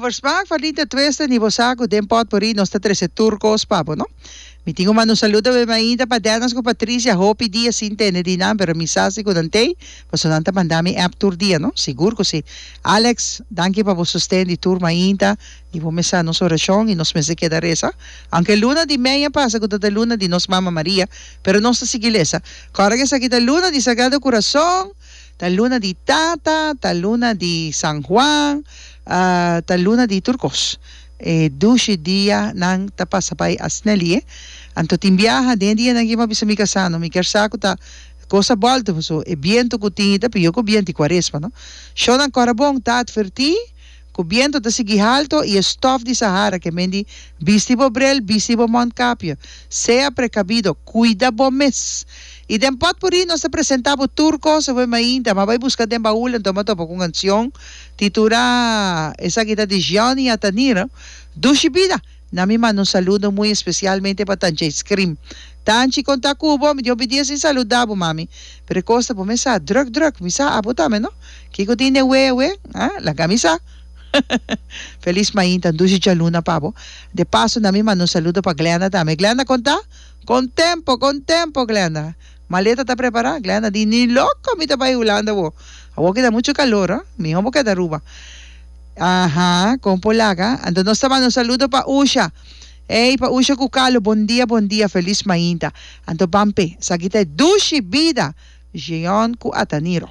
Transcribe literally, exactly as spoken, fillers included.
Vermaak, Verdiente Twisten, y bo sa cu den Potpourri nos ta trece tur cos pa bo, no? Mi tin cu manda un saludo be mainta pa Dennis cu Patricia, hopi dia sin tende di nan, pero mi sa si cu nan tey, paso nan ta manda mi app tur dia, no? Sigur cu si. Alex, danki pa bo sosten di tur mainta, y bo mes sa nos oracion y nos mester keda reza. Aunke luna di mei a pasa cu ta ta luna di nos Mama Maria, pero nos ta sigui lesa. Corda cu esaki ta luna di Sagrado Corazon, ta luna di Tata, ta luna di San Juan, ta luna di tur kos. E dushi dia nan ta pasa bai asnelie. Anto tin biaha den e dianan aki mi a bisa mi kasá no mi kier sa ku ta kos a bòlta paso e bientu ku tin ta pió ku bientu di kuaresma no. Shownan kòrda bon ta atvertí ku bientu ta sigui halto i e stòf di Sahara ke men di bisti bo brel, bisti bo mondkapje. Sea prekabido, kuida bo mes. I den Potpourri nos ta presentá bo tur kos awe mainta. M'a bai buska den baul anto m'a topa ku un kansion titulá Esaki ta di Gianni Ataniro, Dushi Bida. Na mi manda un saludo muy especialmente pa Tanchi Ice Cream. Tanchi kon ta ku bo? Mi di hopi dia sin saluda bo mami. Pero e kos ta bo mes sa druk druk. Mi sa abo tambe no. Kiko tin den wea awe? Ah, laga mi sa. Feliz mainta, dushi djaluna pa bo. De paso na mi manda un saludo pa Glenda tambe. Glenda kon ta? Kon tempo, kon tempo Glenda. Maleta ta prepara? Glenda di ni loko mi ta bai Hulanda awo. Awo ki ta mucho calor ah. Miho bo keda Aruba. Aha, kon por laga. Anto nos ta manda un saludo pa Usha. Ey, pa Usha ku Carlo, bon dia, bon dia, feliz mainta. Anto ban p'e. Esaki ta e dushi bida, Jeon ku Ataniro.